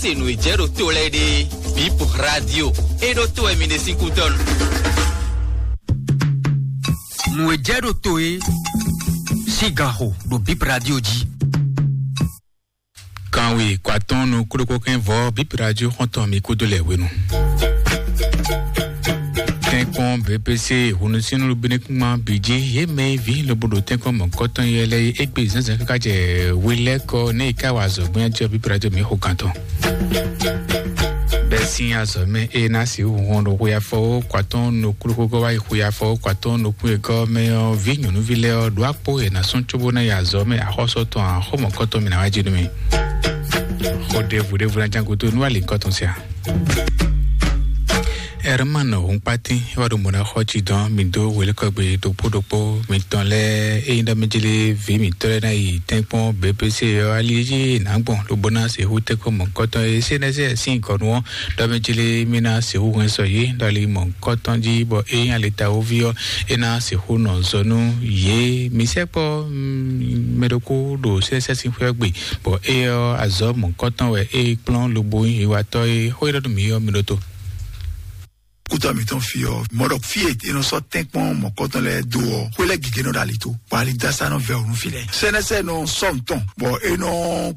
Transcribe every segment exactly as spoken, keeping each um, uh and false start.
Se nǔ e jɛ ɖo to lɛ́ɛ ɖe, Bip Radio, e ɖo to wɛ mi ɖe sín kútɔ́ nu. Nǔ e jɛ ɖo to e sín ganxo ɖo Bip Radio jí. Kanwe kwatɔn nukúɖokpó kɛn vɔ Bip Radio xɔntɔn mi kúdó lɛ hwenu. Tɛ́nkpɔ́n B P C hunnusínnú binukúnma bǐ jí yě mɛ e ví lobo ɖo tɛ́nkpɔ́n mɔ̌kɔtɔn yɛ lɛ́ɛ é gbe zǎnzǎn káká jɛ hwelɛ́kɔ nɛ́ è ká wa azɔ̌ gbɛ́njɔ Bip Radio mǐ xo gantɔn. Bɛ́ sín azɔ̌ mɛ é ná sixú hɔn ɖo xwe afɔwó kwatɔ́n nukúɖokpó wá yi xwe afɔwó kwatɔ́n nukún e gɔ́ mɛ ɔ́, vǐ nyɔ̌nuví lɛ́ɛ ɔ́ ɖó akpó è nǎ sún cóbó ná yi azɔ̌ mɛ axɔ́sɔ tɔn axɔ́mɔkɔ́tɔn mǐ ná wá jí nú mì. Xɔ ɖěvo ɖěvo ná ján gúdo nú alǐkɔ tɔn sia. Herman Hunkpatin wá ɖo mɔ̌ ná xɔ cí dɔn mì dó wělékɔgbe ɖokpó ɖokpó mitɔn lɛ́ɛ ényí ɖɔ mɛ jlé vǐ mǐtɔn lɛ́ɛ ná yi tɛ́nkpɔ́n B P C ɔ́, ali e jí è nǎ gbɔn lobo ná sixú tɛ́nkpɔ́n mɔ̌kɔtɔn e C N S sín gɔ̌nu ɔ́ ɖɔ mɛ jlé mì ná sixú hɛn sɔ yě ɖɔ ali mɔ̌kɔtɔn jí, bɔ ényí ali ta wóví ɔ́, é ná sixú nɔ zɔ nú yě. Mǐ sɛkpɔ́ mɛ ɖokpó ɖo C N S sín xwé ɔ́ gbe, bɔ é ɔ́ azɔ̌ mɔ̌kɔtɔn wɛ é kplɔ́n lobo nyí hwewatɔ́ e xó e ɖɔ nú mǐ ɔ́ mi ɖótó. Kútɔ mǐtɔn fi ɔ́, mɔ̌ ɖɔ fí e è nɔ sɔ́ tɛ́nkpɔ́n mɔ̌kɔtɔn lɛ́ɛ dó ɔ́, xwé lɛ́ɛ gěgé nɔ ɖo ali tó, bɔ ali dó asá nɔ vɛ ɔ́ nú fí lɛ́ɛ. C N S nɔ sɔ́ nǔ tɔn, bɔ é nɔ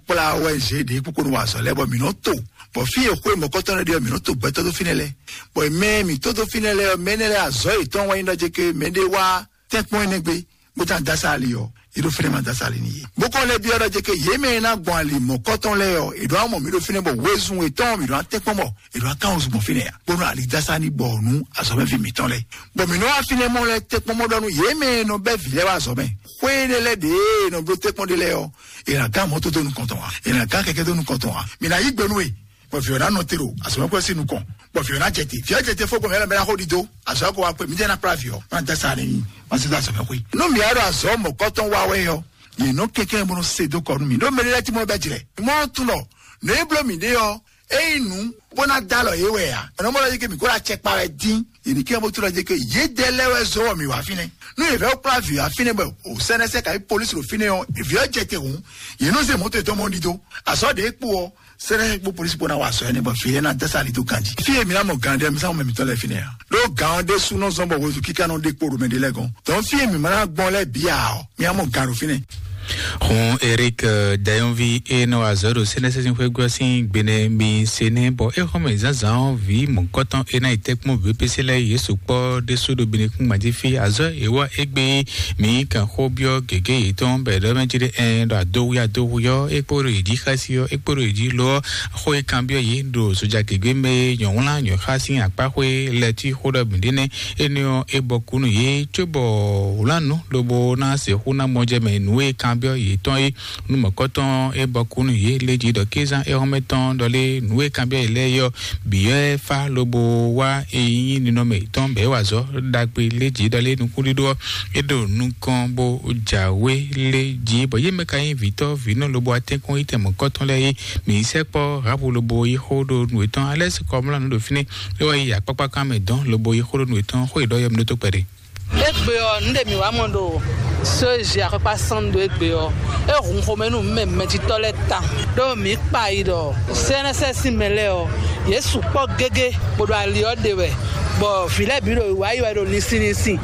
kplá O N G ɖě kpókpó nɔ wa azɔ̌ lɛ́ɛ, bɔ mǐ nɔ to, bɔ fí e xwé mɔ̌kɔtɔn lɛ́ɛ ɖe ɔ́, mǐ nɔ to gbɛtɔ́ dó fínɛ́ lɛ́ɛ, bɔ mɛ e mǐ tó dó fínɛ́ lɛ́ɛ ɔ́, mɛ énɛ́ lɛ́ɛ azɔ̌ yětɔn wá nyí ɖɔ jɛ ke mɛɖé wá tɛ́nkpɔ́n énɛ́ gbe, bó ná dó asá ali ɔ́, yě ɖo fínɛ́ ma dó asá ali n'i yě. Bó kɔn lɛ́ byɔ́ ɖɔ jɛ ke yě mɛ e ná gbɔn ali mɔ̌kɔtɔn lɛ́ɛ ɔ́, è ɖǒ amɔ mǐ ɖo fínɛ́ bɔ wezun yětɔn mǐ ɖo ná tɛ́nkpɔ́n bɔ è ɖǒ ná kán wezun gbɔn fínɛ́ ǎ, bónú ali dó asá ní gbɔ nú azɔ̌mɛví mǐtɔn lɛ́ɛ. Bɔ mǐ nɔ wá fínɛ́ mɔ lɛ́ɛ tɛ́nkpɔ́n mɔ ɖɔ nú yě mɛ e nɔ bɛ́ vǐ lɛ́ɛ wá azɔ̌ mɛ. Xwé énɛ́ lɛ́ɛ ɖě e nɔ bló tɛ́nkpɔ́n ɖé lɛ́ɛ ɔ́, è nǎ gán mɔ̌ tó dó nukɔn tɔn ǎ, è nǎ gán kɛkɛ́ dó nukɔn tɔn ǎ. Mǐ ná yí gbe nú we, bɔ vǐ ɔ́ ná nɔ te ɖo azɔ̌mɛxwé sín nukɔn, bɔ vǐ ɔ́ ná jɛ te. Vǐ ɔ́ jɛ te fó gbɔn mɛ lɛ́ɛ mɛ ná xo ɖido, azɔ̌ ko wá kpé, mǐ jɛ ná kplá vǐ ɔ́, má dó asá n'i, má sí dó azɔ̌mɛxwé. Nú mǐ wá ɖo azɔ̌ mɔ̌kɔtɔn wa wɛ ɔ́, yě nɔ kɛnklɛ́n bó nɔ se dó kɔ nú mì. Ɖó mɛ ɖé lɛ́ɛ tí mɔ bɛ́ jlɛ́. Mɔ tunɔ, nǔ e bló mǐ ɖe ɔ́, é nyí nǔ bó ná dó alɔ yě wɛ ǎ. Ɛnɛ mɔ lɔ yí ké mǐ kó ná cɛ kpa wɛ dín. Yě ní kí ɔ́ bó tlɔ́ jɛ ké yědɛɛ lɛ́ɛ wɛ zɔ́ wɔ mǐ wá fínɛ́. Nú yě vɛ́ kplá vǐ wá fínɛ́ bɔ o sɛ́nɛsɛ kayi polisi ɖo fínɛ́ ɔ́, vǐ ɔ́ jɛ te hǔn, yě nɔ zé mɔ̌ tɔn yětɔn mɔ ɖidó. Azɔ̌ ɖě kpo ɔ́, sɛ́nɛsɛ kpó polisi kpó ná wa azɔ̌ énɛ́ bɔ vǐ lɛ́ɛ ná dó asá ali dó ganjí. Fí e mǐ ná mɔ gǎn ɖe mi sá mɔ mì tɔn lɛ́ɛ fínɛ́ ǎ. Ɖó gǎn ɔ́ ɖésú nɔ zɔ́n bɔ hwezu kíká nɔ ɖe kpó ɖo mɛ ɖé lɛ́ɛ gɔ́n. Dɔn fí e mǐ ma ná gbɔn lɛ́ɛ bǐ ǎ ɔ́, mì á mɔ gǎn ɖo fínɛ́. Hun Eric Dayɔnvi e nɔ wa azɔ̌ ɖo sɛ́nɛsɛ́sɛn xwé gɔ́ sín gbenɛ mi se nɛ́ bɔ é xɔ́ mɛ zǎnzǎn ɔ́ vǐ mɔ̌kɔtɔn e ná yi tɛ́kpɔ́n V P C lɛ́ɛ yě sukpɔ́ ɖésú ɖo binukún gbanjí fí. Azɔ̌ e wá égbé mǐ kan xó byɔ́ gěgé yětɔn bɔ è ɖɔ mɛ jí ɖé ɛn ɖɔ adówí adówí ɔ́, é kpó ɖo yě jí xási ɔ́, é kpó ɖo yě jí lo ɔ́, xó e kanbyɔ́ yě ɖo soja gěgé mɛ e nyɔ̌wlán nyɔ̌xá sín akpáxwé lɛ́ɛ cí xó ɖɔ mǐ ɖe nɛ́. Énɛ́ ɔ́, é bɔ kú nú yě cóbɔ wlǎnǔ lobo ná sixú ná mɔ jɛ mɛ nǔ e kanbyɔ́ yětɔn é. Nú mɔ̌kɔtɔn é bɔ kú nú yě lé jí ɖɔ kézán éhɔ́mɛ tɔn ɖɔ lé nǔ e kanbyɔ́ yě lɛ́ɛ yɔ bǐ ɔ́ é fá lobo wá e nyí ninɔmɛ yětɔn bɛ̌ wa azɔ̌ ɖagbe lé jí ɖɔ lé nukúnɖíɖó ɔ́, é ɖo nukɔn bó jǎwe lé jí bɔ yě mɛ ka nyí vǐtɔ́ vǐnɔ lobo atɛ́nkpɔ́n yi tɛ mɔ̌kɔtɔn lɛ́ɛ é. Mǐ sɛkpɔ́ Rahabu lobo yi xó ɖo nǔ yětɔn alɛ́ sí kɔmlá nǔ ɖo fínɛ́. É wá yi akpákpákan mɛ dɔn lobo yi xó ɖo nǔ yětɔn xó e ɖɔ yɔ mi ɖó tó kpɛɖé. Égbé ɔ́, nǔ ɖe mǐ wá mɔ ɖo só e zi akɔkpa sɔ́n ɖo égbé ɔ́, é hun xomɛ nú mɛ mɛjitɔ́ lɛ́ɛ tawun. Ɖó mǐ kpa yi ɖɔ C N S S sín mɛ lɛ́ɛ ɔ́, yě sukpɔ́ gégé bó ɖo ali ɔ́ ɖe wɛ, bɔ vǐ lɛ́ɛ bǐ ɖo wǎ yi wɛ ɖo linsin linsin,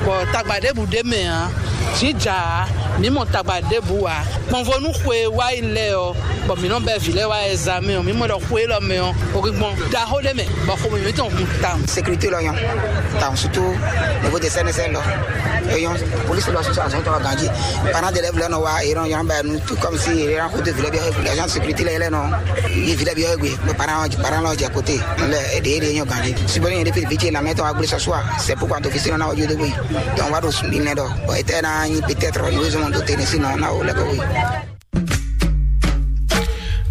bɔ tagba ɖěbǔ ɖ'é mɛ ǎ. Jǐ ja ǎ, mǐ mɔ tagba ɖěbǔ ǎ. Kpɔnvo nú xwe e wá yi lɛ́ɛ ɔ́, bɔ mǐ nɔ bɛ́ vǐ lɛ́ɛ wá ɛzamɛ ɔ́, mǐ mɔ ɖɔ xwe élɔ́ mɛ ɔ́, o gbɔn ɖaxó ɖé mɛ, bɔ xomɛ mǐtɔn hun tawun. Sécurité lɔ nyɔ, tawun surtout niveau de C N S L lɔ, e nyɔ, police lɔ sɔsɔ azɔn tɔn ganji, parents d'élèves lɔ nɔ wa, e nɔ yɔn ba nu, tout comme si e nɔ xo de village bi, agent sécurité lɛ lɛ nɔ yi village bi gbe, mais parents parents lɔ jɛ côté, lɛ e de e nyɔ ganji. Si bɔ ni de village la mettre en place ce soir, c'est pourquoi d'office on a audio de oui. Donc on va do sumbi ne do. Bon, était na peut-être nous avons doté ne sinon on a au labo oui.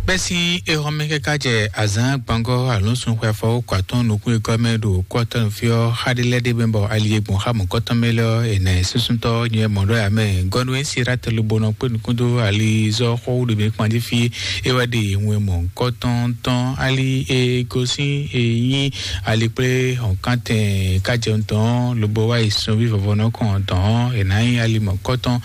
Bɛ́ sín éhɔ́mɛ káká jɛ azǎn gbɔngɔ́ alɔ̌nsun xwe afɔ kɔ atɔ́ɔ́n nukún e gɔ́ mɛ ɖo kú atɔ́ɔ́n fí ɔ́, xá ɖé lɛ́ɛ ɖé mɛ bɔ ali e gbɔn xá mɔ̌kɔtɔn mɛ lɛ́ɛ ɔ́, è nǎ ɛ súnsúntɔ́ nyɛ mɔ ɖɔ ǎ mɛ. Gɔ́nú e Sirate lobo nɔ kpé nukún dó alizɔ́ xɔ wú ɖo mɛ kpan jí fí, é wɛ ɖe wɛn mɔ̌kɔtɔn tɔn ali e gosín e nyí ali kplé hɔ̌nkántɛn kájɛun tɔn ɔ́, lobo wá yi sunví vɔvɔ nɔ kɔn tɔn ɔ́, è nǎ nyí ali mɔ̌kɔtɔn.